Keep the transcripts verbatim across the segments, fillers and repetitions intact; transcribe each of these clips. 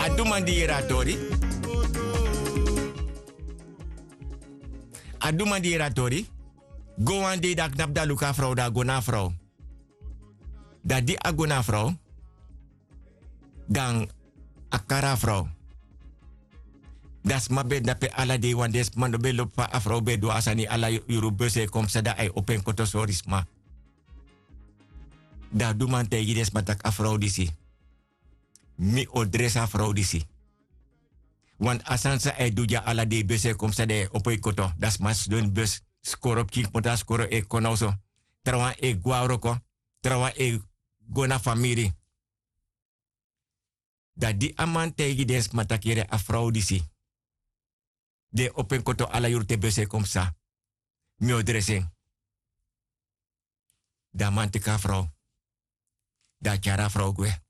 A du man di yere a tori. A du man di yere a tori. Go wan dei dan a knapu dan a luku a frow dan a go na a frow. Dan di a go na a frow, dan a kari a frow. Dan sma ben de dape ala dei wan den sma no ben lobi fa a frow ben du a sani ala yuru besi e kon psa dan a e opo en koto sori sma. Dan a du man taigi den sma tak' a frow disi mi o dresi a frow disi. Wantu a sani san a e du dya ala dei besi e kon psa dan a e opo en koto dan sma sidon ini besi skoro pikin kmoto a skoro e kon na oso. Trawan e gwe na wroko. Trawan e go na famiri. Dan di a man taigi den sma tak' yere a frow disi di e opo en koto ala yuru te besi e kon psa, mi o dresi en. Dan a man teki a frow. Dan a tyari a frow gwe.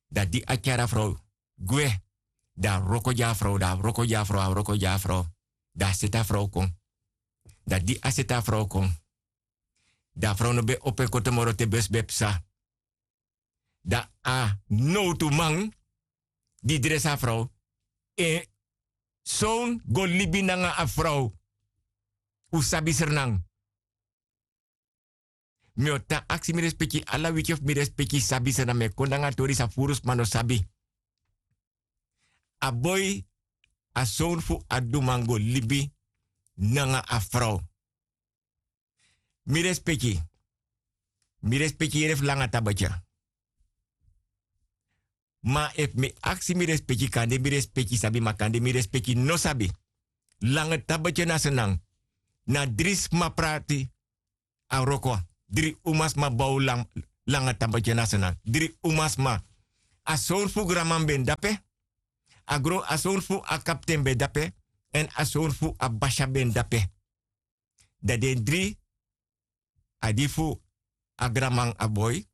Dan di a tyari a frow gwe, dan a wroko gi a frow dan a wroko gi a frow a wroko gi a frow. Dan a seti a frow kon. Dan di a seti a frow kon, dan a frow no ben opo en koto moro te besi ben psa. Dan a nowtuman di dresi a frow, en sown go libi nanga a frow. Un sabi srnan. Mi o tan aksi mi respeki ala wiki fu mi respeki sabi srnan mi e kon nanga a tori san furu sma no sabi. A boi, a sown fu a duman go libi nanga a frow. Mi respeki. Mi respeki yere fu langa tabetya. Ma efu mi aksi mi respeki kande mi respeki sabi ma kande mi respeki no sabi. Langa tabetya na srnan. Na dri sma prati. A wroko. Dri umasma bow langa tabetya na srnan dri umasma. A sown fu granman ben dape. A gron a sown fu a kapten ben dape. Èn a sown fu a basya ben dape. Dan den dri, a di fu a granman a boi,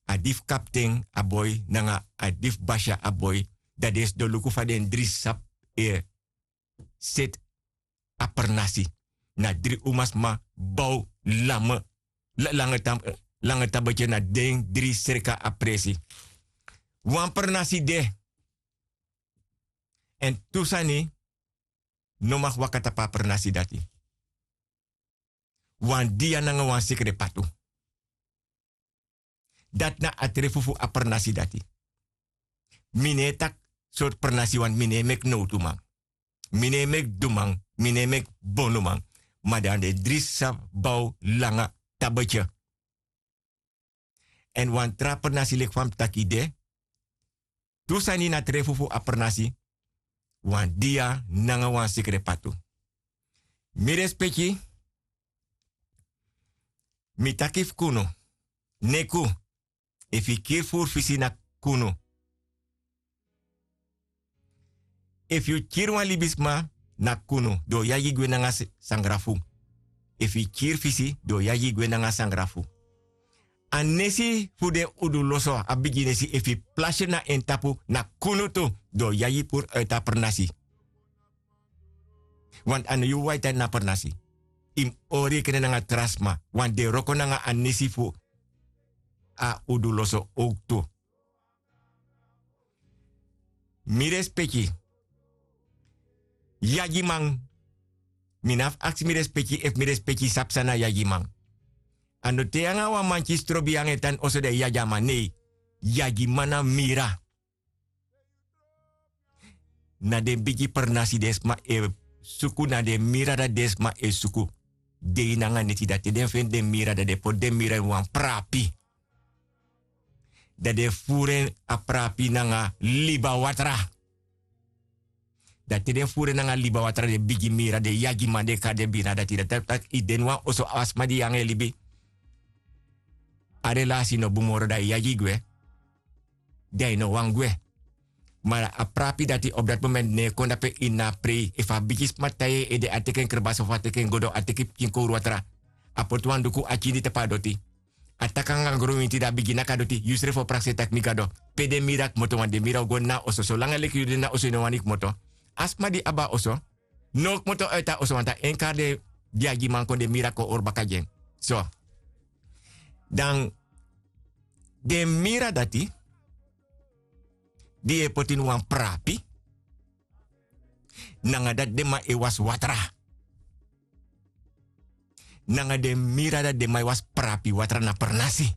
a di fu kapten a boi nanga a di fu basya a boi. Dan den sidon luku fa den dri sabi e seti a pernasi. Na dri umasma bow lame langa tabetye na den dri sreka a presi. Wan pernasi de. Èn tu sani no mag waka tapu a pernasi dati. Wan dia nanga wan sekre patu. Dati na a trefu fu a pernasi dati. Mi no e taki sortu pernasi wani mi no e meki nowtuman. Mi no e meki duman. Mi no e meki bonuman. Ma dan den dri sa bow langa tabetye. Èn wan tra pernasi leki fa mi taki de. Tu sani na trefu fu a pernasi. Wan dia nanga wan sekre patu. Mi respeki. Mi taki fu kunu. Neku. Efu yu kiri furu fisi na kunu. Efu yu kiri wan libisma na kunu den o yagi gwe nanga sangrafu. Efu yu kiri fisi den o yagi gwe nanga sangrafu. A nesi fu den uduloso a bigi nesi efu yu plasi en na en tapu na kunu tu den o yagi puru uiti a pernasi. Wantu a no yu waiti a ini a pernasi. Yu mus hori yu kene nanga tra sma wantu den wroko nanga a nesi fu a uduloso owktu. Mi respeki. Yagiman. Mi no abi fu aksi mi respeki efu mi respeki sabi san na yagiman. A no te yu nanga wan man kisi trobi yu nanga en tan oso dan yu yagi a man nei. Yagiman na mira. Na den bigi pernasi den sma e suku na den mira dati den sma e suku. Dei nanga neti dati te den feni den mira dati den poti den mira ini wan prapi. Dan den furu en a prapi nanga liba watra. Dan te den furu en nanga liba watra den bigi mira den yagiman den kari den bina dati dati taki yu de ini wan oso a sma di yu nanga en libi. A relasi no bun moro dan yu yagi gwe. Dan yu no wani gwe. Ma a prapi dati opu dati momenti no e kon dape ini a prei efu a bigisma tai en ede a teki en krebasi ofu a teki en godo a teki pikin kowru watra. A poti wan duku a kindi tapu a doti. A taki nanga gronwinti dan a bigin naki a doti yu srefi o prakseri tak' mi gado. Pe den miri a kmoto wani den miri a o go ini a oso solanga leki yu de ini a oso yu no wani kmoto. A sma di abi a oso no o kmoto uiti a oso wantu a en kari den yagiman kon den miri a kon hori baka gi en. So dan den miri a dati. di yu e poti ini wan prapi, nanga dati den man e wasi watra. Nanga den mira dati den man e wasi prapi watra na pernasi.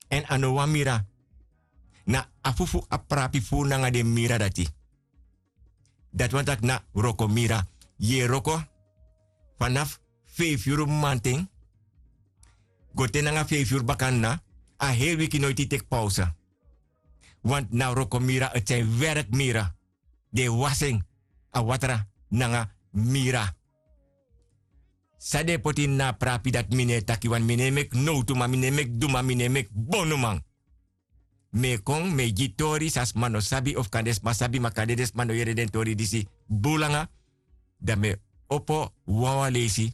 Èn a no wan mira, na afu fu a prapi furu nanga den mira dati. Dati wani taki na wrokomira. Yu e wroko fanafu feifi yuru mamanten go te nanga feifi yuru baka na a heri wiki noiti yu teki pausa. Want na wrokomira, eti san yu werkmira. Den e wasi en a watra nanga mira. San den e poti ini na a prapi dati mi no e taki, want mi no e meki nowtuman, mi no e meki duman, mi no e meki bonuman. Mi e kon, mi e gi tori san sma no sabi, of kande sma sabi ma kande den sma no yere den tori disi bun langa. Dan mi e opo wawan leisi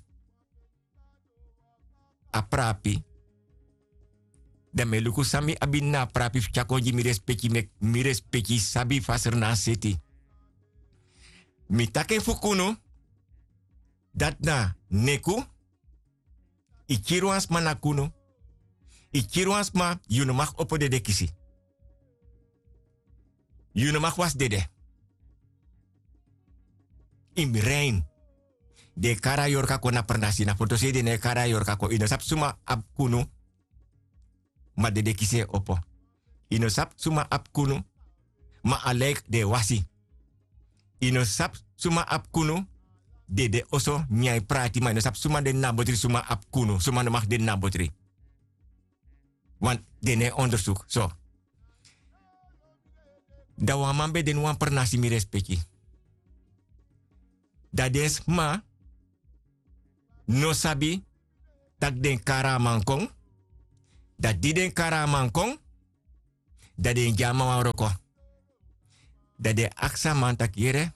a prapi. Dan mi e luku san mi abi ini na a prapi fu tyari kon gi mi respeki, meki mi respeki sabi fu a srnan seti. Mi taki en fu kunu, dati na neku. Yu kiri wan sma na kunu. Yu kiri wan sma, yu no mag opo dede kisi. Yu no mag wasi dede. Yu mus rein. Den e kari a yorka kon na pernasi, na fotosei den no e kari a yorka kon. Yu no sabi suma abi kunu, ma dede kisi e opo. Yu no sabi suma abi kunu, ma a lijki den e wasi. Yu no sabi suma abi kunu, dede oso nyan e prati, ma yu no sabi suma de na a botri, suma abi kunu, suma no mag de na a botri. Want den no e ondersuku so. Dan wan man ben de ini wan pernasi, mi respeki. Dan den sma no sabi taki den kari a man kon. Dan di den kari a man kon, dan den gi a man wan wroko. Dan den aksi a man taki: Yere,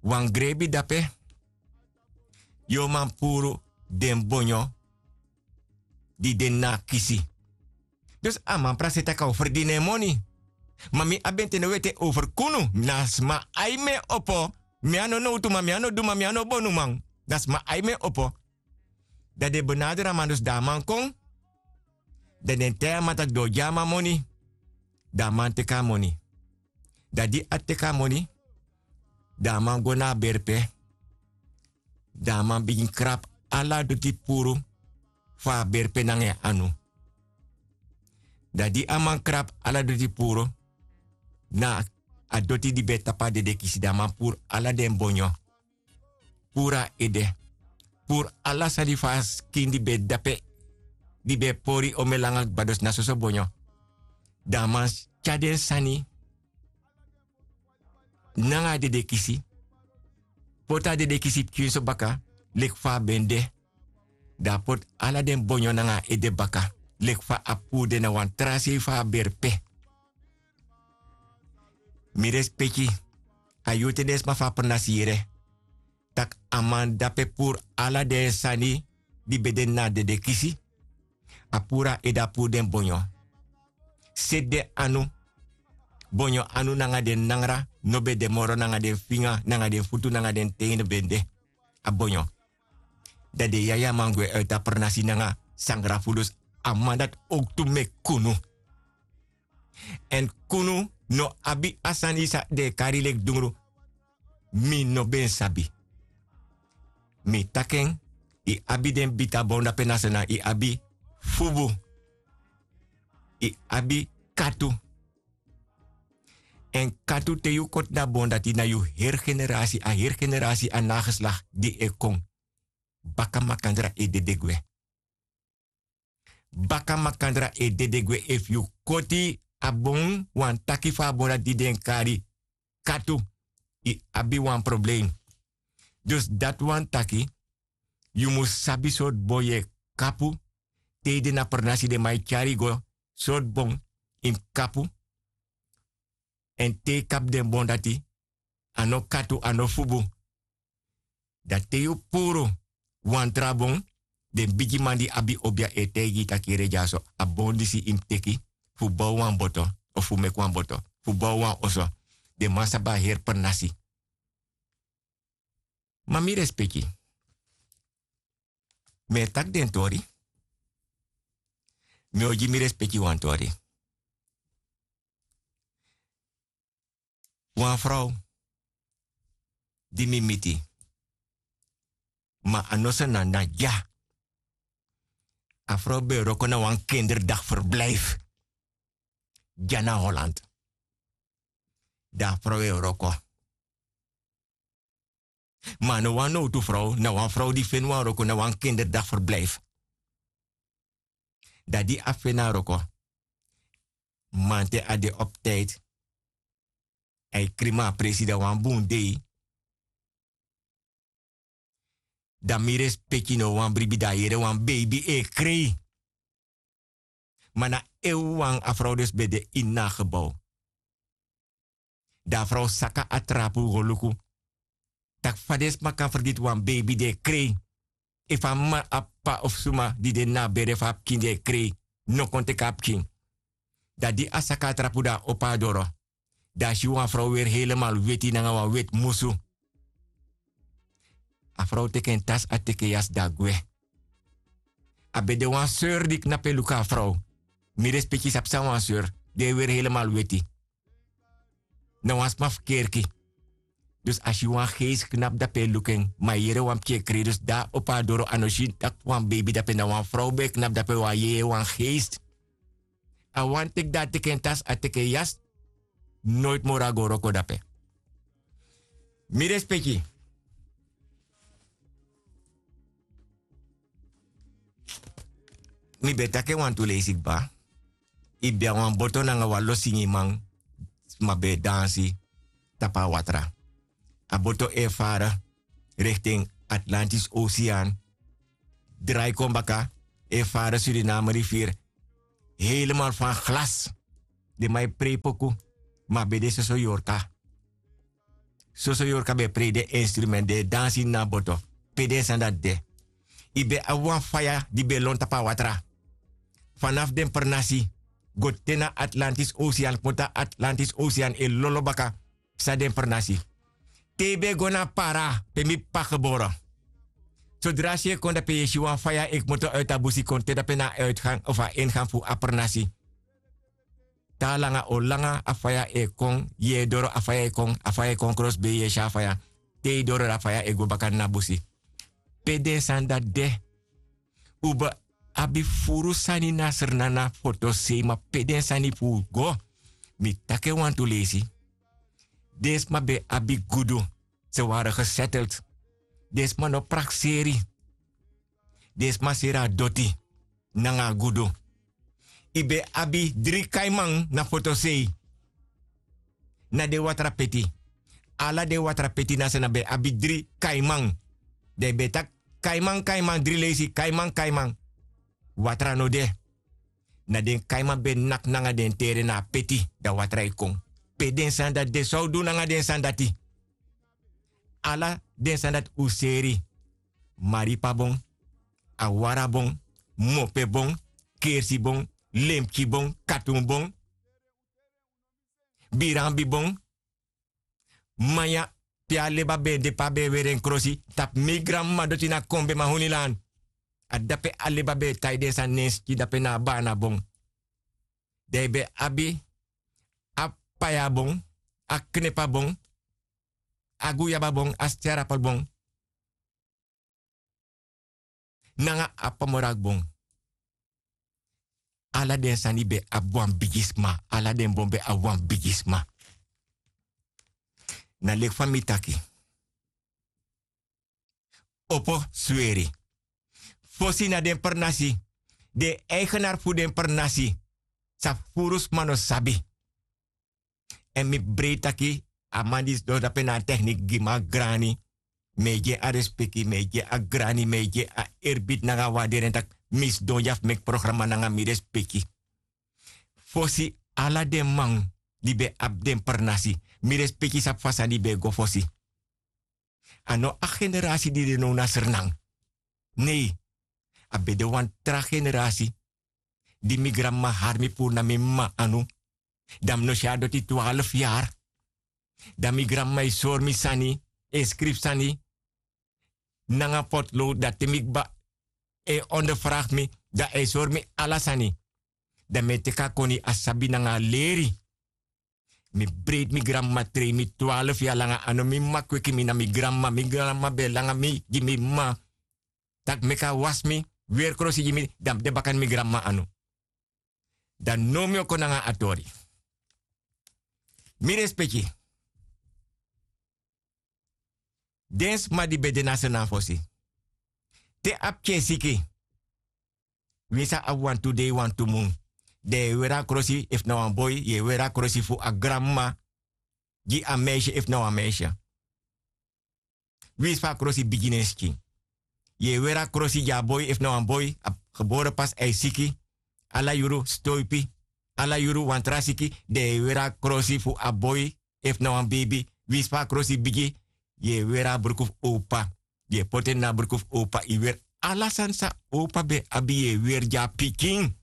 wan grebi de ape, yu o man puru den bonyo di de na a kisi. Dus a man prakseri taki a o ferdini en moni. Ma mi abi en te no weti en over kunu. Na sma ai mi e opo. Mi a no nowtuman, mi a no duman, mi a no bonuman. Na sma ai mi e opo. Dan den benaderi a man, dus dan a man kon. Dan den taigi a man taki den o gi a man moni. Dan a man teki a moni. Dan di a teki a moni, dan a man go na a berpe. Dan a man bigin krabu ala doti puru fu a berpe nanga en anu. Dan di a man krabu ala doti puru, na a doti di ben tapu a dedekisi, dan a man puru ala den bonyo. Puru a ede. Puru ala sani fu a skin di ben de ape, di ben pori omen langa kba, dus na soso bonyo. Dan a man tyari den sani nanga a dedekisi, poti a dedekisi pikinso baka leki fa a ben de. Dan a poti ala den bonyo nanga a ede baka leki fa a puru den na wan tra sei fu a berpe. Mi respeki, a yu te den sma fu a pernasi yere tak' a man dape puru ala den sani di ben de na a dedekisi. A puru a ede, a puru den bonyo. Seti den anu, bonyo anu nanga den nangra no ben de moro, nanga den finga, nanga den futu, nanga den ten no ben de. A bonyo. Dan den yaya man gwe uiti a pernasi nanga sangra fu dus. A man dati owktu meki kunu. Èn kunu no abi a sani san den e kari leki dungru. Mi no ben sabi. Mi taki en, yu abi den bita bon dape na Saanan, yu abi fubu, yu abi katu. Èn katu, te yu koti na bon dati, na yu heri generasi, a heri generasi, a nageslach di e kon. Baka makandra e dede gwe. Baka makandra e dede gwe efu yu koti a bon, wan taki fu a bon dati di den kari katu, yu abi wan problem. Dus dati wani taki yu mus sabi sortu bon yu e kapu. Te yu de na pernasi, den man e tyari yu go sortu bon yu mus kapu. Èn te yu kapu den bon dati, a no katu, a no fubu. Dan te yu puru wan tra bon, den bigiman di abi obia e taigi yu taki: Yere dyaso, a bon disi yu mus teki fu bow wan boto, of fu meki wan boto, fu bow wan oso. Den man sabi a heri pernasi. Ma mi respeki, mi e taki den tori. Mi o gi mi respeki wan tori. Wan frow di mi miti, ma a no srnan na dya. A frow ben wroko na wan kinderdagverblijf dya na holland. Dan a frow e wroko. Ma a no wan nowtu frow, na wan frow di feni wan wroko na wan kinderdagverblijf. Dan di a feni a wroko, manten a de op tijdi, a e krima a presi dan wan bun dei. Dan mi respeki no wan bribi dan a yere wan beibi e krei. Ma na en wan a frow dus ben de ini a gebou. Dan a frow saka a trapu go luku, tak' fa den sma kan fergiti wan beibi di e krei. Efu a mama a p'pa of suma di de na a bere fu a pikin di e krei, no kon teki a pikin. Dan di a saka a trapu dan a opo a doro, dan a si wan frow weri helemal weti nanga wan weti musu. A frow teki en tasi a teki en yasi dan a gwe. A ben de wan seur di knapu e luku a frow. Mi respeki sabi san wan seur di e weri helemal weti. Na wan sma fu kerki. Dus a si wan geisi knapu dape e luku en ma a yere wan pikin e krei dus di a opo a doro a no si tak' wan beibi dape na wan frow ben e knapu dape wan yeye wan geisi. A wani teki dan a teki en tasi a teki en yasi. Noiti moro a go wroko dape. Mi respeki. Mi ben taki en wantu leisi kba. Yu ben abi wan boto nanga wan lo singiman sma ben e dansi tapu a watra. A boto e fara rekti en atlantis osean, drai kon baka e fara suriname riviri. Helemal fan glas. Den man e prei poku. Ma a ben de soso yorka. Soso yorka ben e prei den instrument den e dansi ini a boto. Pe den sani dati de? Yu ben abi wan faya di ben lon tapu a watra fanafu den pernasi go te na atlantis osean kmoto a atlantis osean e lolo baka. San den pernasi te yu ben go na a para pe mi p'pa geboro. Sodra a si e kon dape yu e si wan faya e kmoto uiti a busi kon te dape na a uitgan of a ingan fu a pernasi. Te a langa o langa a faya e kon yu e doro a faya e kon a faya e kon krosbei yu e si a faya. Te yu doro dan a faya e go baka na busi. Pe den sani dati de? Un ben abi furu sani na srna na fotosei ma pe den sani fu un go? Mi taki en wantu leisi. Den sma ben abi gudu. Se wari gesetteld. Den sma no prakseri. Den sma seri a doti nanga a gudu. Yu ben abi dri kaiman na fotosei. Na den watra peti. Ala den watra peti na srna ben abi dri kaiman. Dan yu ben taki kaiman kaiman dri leisi kaiman kaiman. Watra no de. Na den kaiman ben naki nanga den tere na a peti dan watra e kon. Pe den sani dati de san un du nanga den sani dati? Ala den sani dati un seri. Maripabon, awarabon, mopebon, kersibon, lempkibon, katunbon, biranbibon. Manya pe a leba ben de pe a ben e weri en krosi tapu mi granmama doti na kon ben mahunilan. A dape a leba ben e tai den sani nen skin dape na a banabon. Dan yu ben abi a payabon, a knepabon, a guyababon a sterapelbon nanga a pamorakbon. Ala den sani ben abi wan bigisma ala den bon ben abi wan bigisma. Na leki fa mi taki. Opo sweri fosi na den pernasi. Den eigenari fu den pernasi sa furu sma no sabi. Èn mi breiti taki a man di sidon dape na a teknik gi mi a grani. Mi e gi en a respeki mi e gi en a grani mi e gi en a erbiti nanga a waderi en tak' mi sidon dya fu meki programa nanga mi respeki. Fosi ala den man di ben abi den pernasi mi respeki sabi fa sani ben e go fosi. A no a generasi di de now na srnan. Nei, a ben de wan tra generasi di mi granmama hari mi puru na mi mama anu. Dan mi no si a doti twalfu yari. Dan mi granmama e sori mi sani, e skrifi sani nanga potlow dan te mi kba e onderfragi mi, dan a e sori mi ala sani. Dan mi e teki a koni a sabi nanga a leri. Mi breiti mi granmama trei mi twarfu yari langa a no mi mama kweki mi na mi granmama mi granmama ben e langa mi gi mi mama, tak' meki a wasi mi, weri krosi gi mi dan mi de baka ini mi granmama anu. Dan now mi o kon nanga a tori. Mi respeki. Den sma di ben de na a srnan fosi, te a pikin e siki, winsi a abi wantu dei wantu mun, dan yu e weri a krosi efu na wan boi yu e weri a krosi fu a granmama, gi a meisi efu na wan meisi. Winsi fa a krosi bigi na en skin, yu e weri a krosi gi a boi efu na wan boi a gebore pasi a e siki, ala yuru sitoipi, ala yuru wan tra siki, dan yu e weri a krosi fu a boi efu na wan beibi, winsi fa a krosi bigi, yu e weri a bruku fu owpa. Yu e poti en na a bruku fu owpa yu weri ala sani san owpa ben abi yu e weri gi a pikin.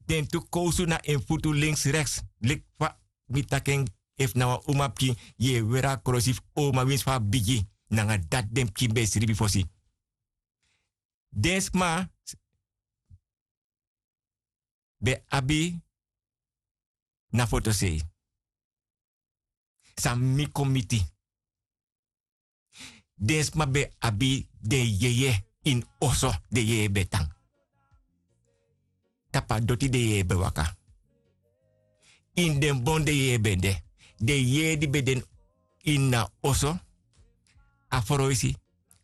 Den tu kowsu na en futu links reks, leki fa mi taki en, efu na wan umapikin yu e weri a krosi fu owma winsi fa a bigi, nanga dati den pikin ben e sribi fosi. Den sma ben abi na fotosei san mi kon miti. Den sma ben abi den yeye ini oso, den yeye ben tan tapu a doti den yeye ben waka. Ini den bon den yeye ben de. Den yeye di ben de ini a oso, a froisi,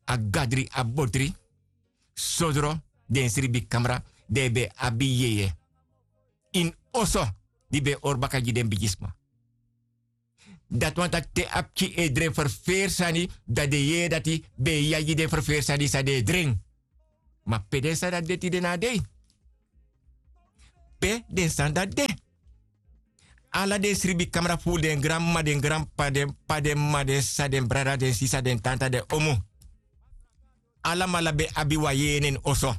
a gadri a botri, sodro, den sribikamra, den ben abi yeye ini oso di ben e hori baka gi den bigisma. Dati wani taki te a pikin e dren ferferi sani, dan den yeye dati ben e yagi den ferferi sani san den e dren. Ma pe den sani dati de tide na a dei? Pe den sani dati de? Ala den sribikamra fu den granmama den granp'pa den p'pa den m'ma den sisa den brada den sisa den tanta den omu, alamala ben abi wan yeye na en oso.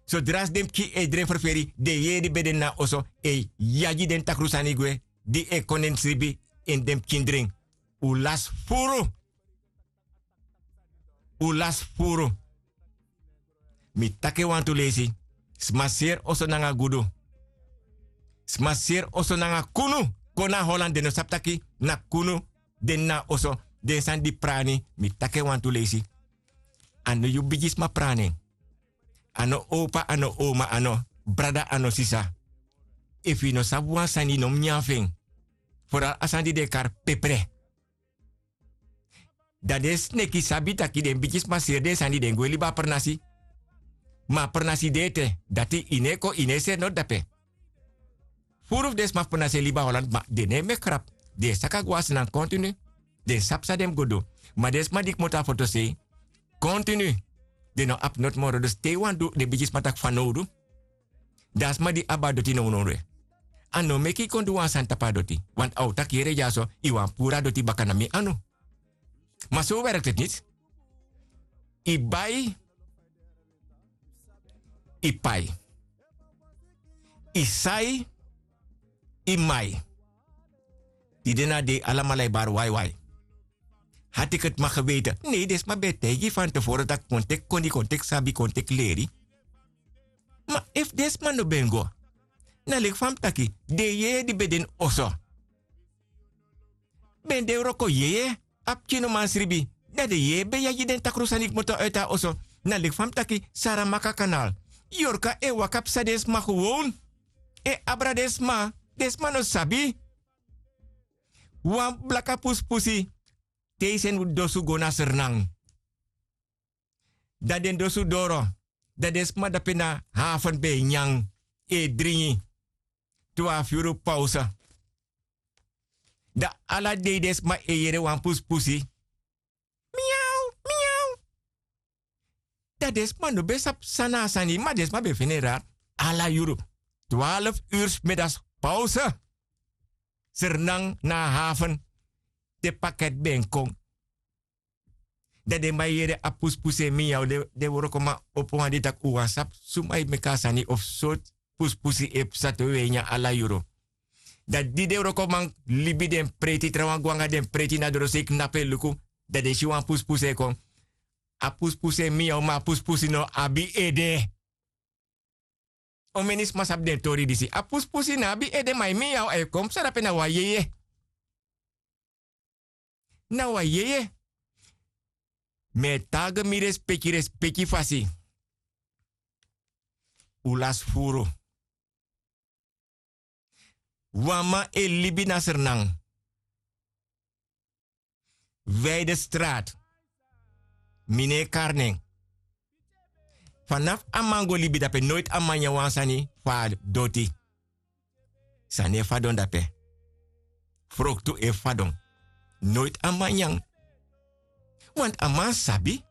Sodra si den pikin e dren ferferi den yeye di ben de na a oso e yagi den takru sani gwe, di e kon na en sribi ini den pikin dren. Un lasi furu. Un lasi furu. Mi taki en wantu leisi. Sma seri oso nanga gudu. Sma seri oso nanga kunu. Kon na holland den no sabi taki na kunu. Den na a oso. Den sani di prani mi taki en wantu leisi. A no yu bigisma prani en. A no owpa a no owma a no brada a no sisa. Efu yu no sabi wan sani yu no mus nyan fu en. Foral a sani di den e kari pepre. Dan den sneki sabi taki den bigisma seri den sani den gwe libi a pernasi. Ma a pernasi de ete dati yu no e kon yu no e seri noti dape. Furu fu den sma fu pernasi e libi a holand ma den no e meki krapu. Den e saka go na snan kontinu. Den sabi san den mus go du. Ma den sma di kmoto na fotosei kontinu den no abi noti moro dus te yu wani du den bigisma taki fanowdu. Dan a sma di abi a doti nownow de a no meki yu kon du wan sani tapu a doti. Wantu a o taki yere dyaso yu wani puru a doti baka na mi anu. Ma so werkti niti. Yu bai, yu pai, yu sai, yu mai. Tide na a dei alamala e bari waiwai. Hati keti maki weite nei den sma ben e taigi yu fanteforo tak' kon teki koni kon teki sabi kon teki leri. Ma efu den sma no ben go na leki fa mi taki den yeye di ben de ini oso ben de wroko yeye. A pikin no man sribi. Dan den yeye ben yagi den takru sani kmoto uiti a oso. Na leki fa mi taki saramaka kanal yorka e waka psa den sma gewon. E abra den sma. Den sma no sabi. Wan blaka pusipusi te yu seni dosu go na sernan. Dan den dosu doro. Dan den sma dape na hafen ben e nyan e dringi. Twafu yuru pause. Dan ala dei den sma e yere wan pusipusi. Miau miau. Dan den sma no ben sabi san na a sani ma den sma ben feni en rari. Ala yuru twalfu uru smidasi pause. Sernan na a hafen. Te paketi ben kon. Dan den man yere a pusupusu en miyaw. Den wrokoman opo wan di tak' un wani sabi suma e meki a sani of sortu pusupusu e psa te un e nyan ala yuru. Dan di den wrokoman libi den preiti trawan go nanga den preiti na doro sei knapu e luku. Dan den si wan pusupusu e kon. A pusupusu en miyaw ma a pusupusu no abi ede. Omeni sma sabi den tori disi. A puspusi na abi ede, ma yu mi ya o e kon psa dape na wan yeye. Na wan yeye. Mi e tagi mi respeki respeki fasi. Un lasi furu. Wan man e libi na sernan. Weidestraat. Mi no e kari nen. Fanafu a man go libi dape noiti a man nyan wan sani fu a doti. Sani e fadon dape. Froktu e fadon. Noiti a man nyan. Want a man sabi.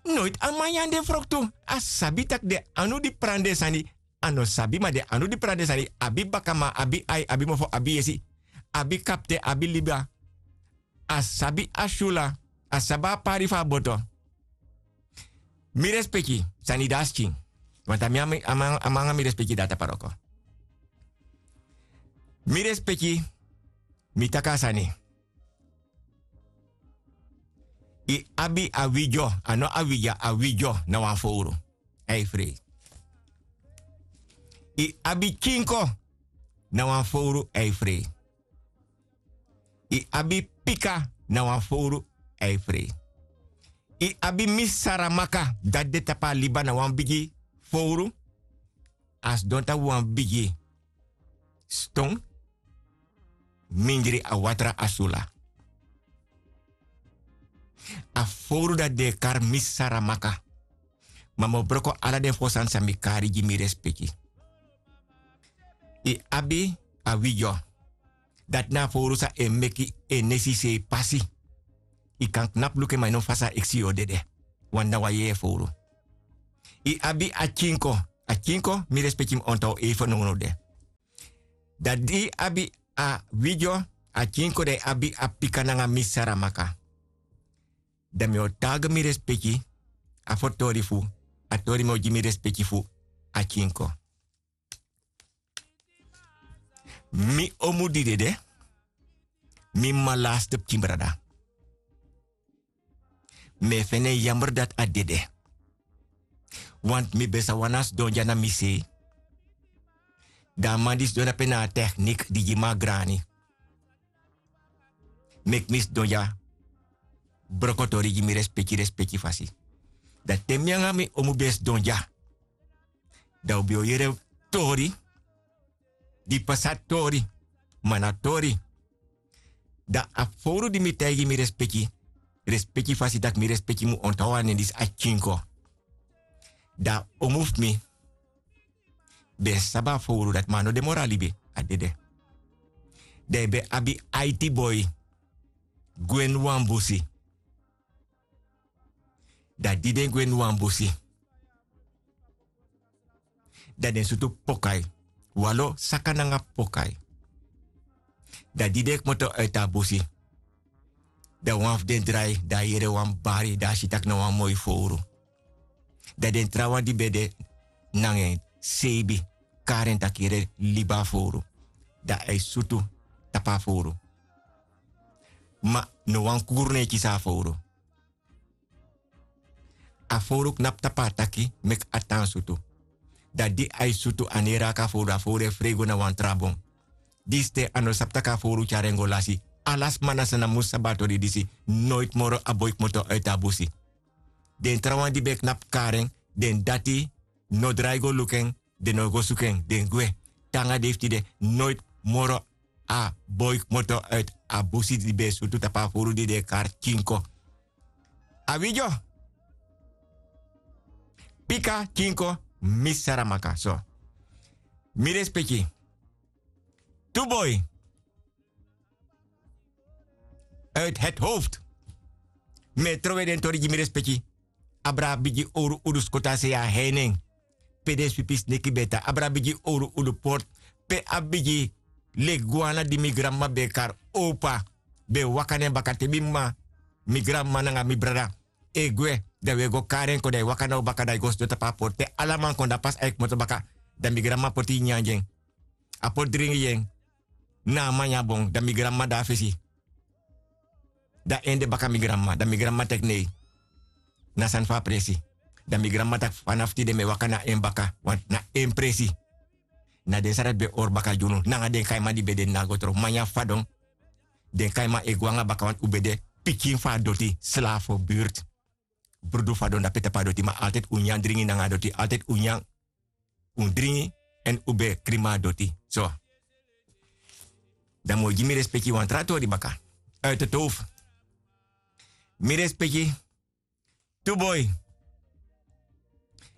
Noiti a man nyan den froktu. A sabi tak' den anu di prani den sani. A no sabi ma den anu di prani den sani abi bakaman, abi ai, abi mofo, abi yesi, abi kapten, abi liba. A sabi a syula. A sabi a pari fu a boto. Mi respeki, sani de a skin. Want a mi a mi a man- a man nanga mi respeki de a taparoko. Mi respeki. Mi taki a sani. Yu abi a widyo. A no a widya, a widyo na wan fowru. A e frei. Yu abi kinko. Na wan fowru a e frei. Yu abi pika. Na wan fowru a e frei. Yu abi misaramaka, dati de tapu a liba na wan bigi fowru. A sidon tapu wan bigi ston. Mindri a watra a sula. A fowru dati den e kari misaramaka. Ma mi o broko ala den fo sani san mi kari gi mi respeki. Yu abi a widyo. Dati na a fowru san e meki en nesi sei pasi. Yu kan knapu luku en ma yu no fasi a eksi yu o dede. Wan na wan yeye fowru. Yu abi a kinko. A kinko mi respeki mi ontow ei fo nownow de. Dan di yu abi a widyo, a kinko dan yu abi a pika nanga mi saramaka. Dan mi o tagi mi respeki. A fo tori fu a tori mi o gi mi respeki fu a kinko. Mi omu di dede. Mi mama laste pikin brada. Mi e feni en yamber dati a dede. Want mi ben sa wani a sidon dya na mi sei. Dan a man di sidon dape na a teknik di gi mi a grani. Meki mi sidon dya. Brokotori gi mi respeki respeki fasi. Dan te mi nanga mi omu ben sidon dya, dan un ben o yere tori. Di pasa tori. Ma na tori. Dan a fowru di mi taigi mi respeki. Respeki fasi tak' mi respeki mu ontaw a nen disi a kinko. Dan a omu fu mi ben sabi a fowru dati ma a no de moro a libi. A dede. Dan yu ben abi aiti boi gwe ini wan busi. Dan di den gwe ini wan busi, dan den sutu pokai. Walo saka nanga pokai. Dan di den kmoto uiti a busi, dan wan fu den drai dan a yere wan bari dan a si tak' na wan moi fowru. Dan den trawan di ben de nanga en seibi kari en tak' yere libi a fowru. Dan a e sutu tapu a fowru. Ma no wan kuru no e kisi a fowru. A fowru knapu tapu a taki meki a tan sutu. Dan di a e sutu a no e raki a fowru a fowru e frei go na wan tra bon. Disi ten a no sabi tak' a fowru tyari en go lasi. Ala sma na san na mus sabi a tori disi. Noiti moro a boi kmoto uiti a busi. Den trawan di ben knapu kari en, den dati no drai go luku en. Den no go suku en, den gwe. Te nanga dei fu tide noiti moro a boi kmoto uiti a busi di ben e sutu tapu a fowru di den e kari kinko. A widyo. Pika kinko. Mi saramaka so. Mi respeki. Tu boi. Uit het hoofd. Mi e trowe den tori gi mi respeki. Abra a bigi owru udu skotu a sei a hei nen. Pe den swipi sneki ben tan abra a bigi owru udu portu. Pe a bigi legwana di mi granmama ben e kari owpa ben e waka na en baka te mi mama, mi granmama nanga mi brada e gwe, dan wi e go kari en kon dan e waka na un baka dan e go sidon tapu a portu te ala man kon dan pasi a e kmoto baka. Dan mi granmama poti nyanyan gi en. A poti dringi gi en. Na a man nyan bon dan mi granmama de na fesi. Dan en de baka mi granmama dan mi granmama teki nei. Na sani fu a presi. Dan mi granmama taki fanafu tide mi e waka na en baka, wantu na en presi. Na den sani dati ben e hori baka gi unu nanga den kaiman di ben de na go tron manyan fadon. Den kaiman e go nanga baka wantu un ben de pikin fu a doti slafo birti. Brudu fadon dape tapu a doti ma altidi un nyan dringi nanga a doti altidi un nyan, un dringi, èn un ben e krima a doti so. Dan mi o gi mi respeki wan tra tori baka. Uiti towfu. Mi respeki. Tu boi.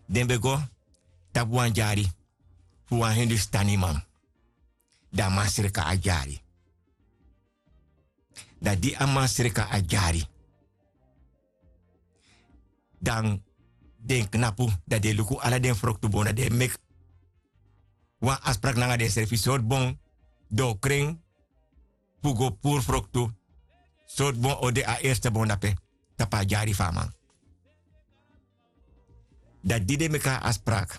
Den ben go tapu wan dyari fu wan hindustaniman. Dan a man sreka a dyari. Dan di a man sreka a dyari, dan den knapu, dan den luku ala den froktu bon dan den e meki wan afspraki nanga densrefi sortu bon den o kren fu go puru froktu. Sortu bon o de a erste bon dape tapu a dyari fu a man. Dan di den meki a afspraki,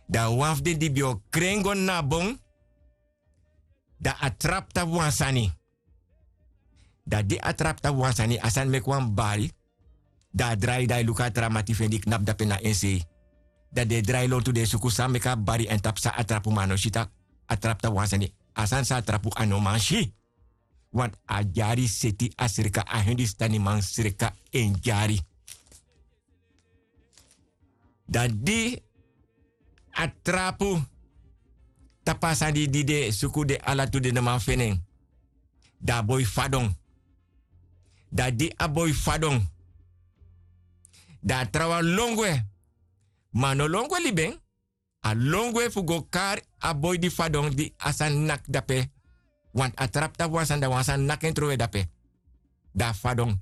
dan wan fu den di ben o kren go na a bon, dan a trapu tapu wan sani. Dan di a trapu tapu wan sani a sani meki wan bari. Dan a drai dan a e luku a tra mati fu en di knapu dape na en sei. Dan den e drai lontu den e suku san meki a bari èn tapu san a trapu ma a no si tak' a trapu tapu wan sani. A sani san a trapu a no man si. Wantu a dyari seti a sreka a hindustaniman sreka en dyari. Dan di a trapu tapu a sani di den e suku den ala tu den no man feni en. Dan a boi fadon. Dan di a boi fadon, dan a trawan lon gwe. Ma a no lon gwe libi en. A lon gwe fu go kari a boi di fadon di a sani naki dape. Wantu a trapu tapu wan sani dan wan sani naki en trowe dape. Dan a fadon.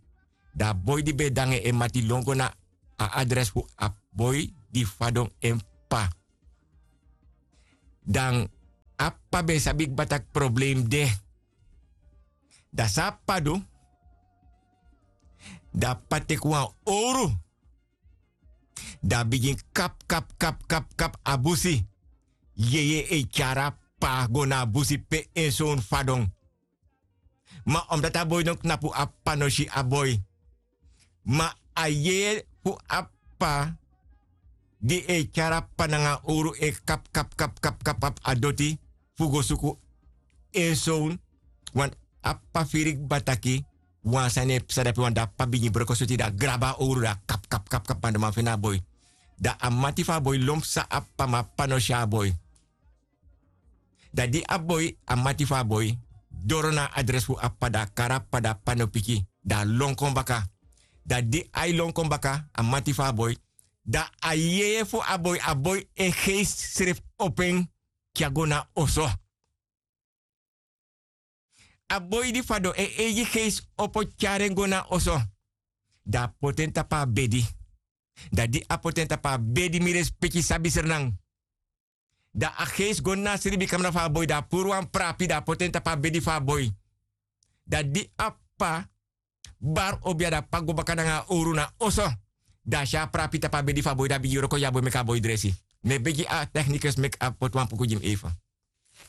Dan a boi di ben e de nanga en mati lon go na a adres fu a boi di fadon en p'pa. Dan a p'pa ben sabi kba tak' problem de. Dan san a p'pa du? Dan a p'pa teki wan owru. Dan a bigin kapu kapu kapu kapu kapu a busi. Yeye e tyari a p'pa go na a busi pe en sownu fadon. Ma omdati a boi no knapu a p'pa no si a boi. Ma a yeye fu a p'pa di e tyari a p'pa nanga a owru e kapu kapu kapu kapu kapu a doti fu go suku en sownu. Wantu a p'pa firi kba taki wan sani e psa dape wantu dan a p'pa bigin broko soti dan a grabu a owru dan a kapu kapu kapu kapu mandoman feni a boi. Dan a mati fu a boi lon psa a p'pa ma a p'pa no si a boi. Dan di a boi a mati fu a boi doro na a adres fu a p'pa dan a kari a p'pa dan a p'pa no piki. Dan a lon kon baka. Dan di a e lon kon baka a mati fu a boi, dan a yeye fu a boi a boi en geisi srefi opo en tyari go na oso. A boi di fadon en eigi geisi opo tyari en go na oso. Dan a poti en tapu a bedi. Dan di a poti en tapu a bedi mi respeki sabi srenan. Dan a geisi go na a sribikamra fu a boi dan a puru wan prapi dan a poti en tapu a bedi fu a boi. Dan di a p'pa bari obi ya dan a p'pa go baka nanga a owru na oso. Dan a si a prapi tapu a bedi fu a boi dan a bigin wroko gi a boi meki a boi dresi. Mi e begi a teknikus meki a poti wan puku gi mi eifen.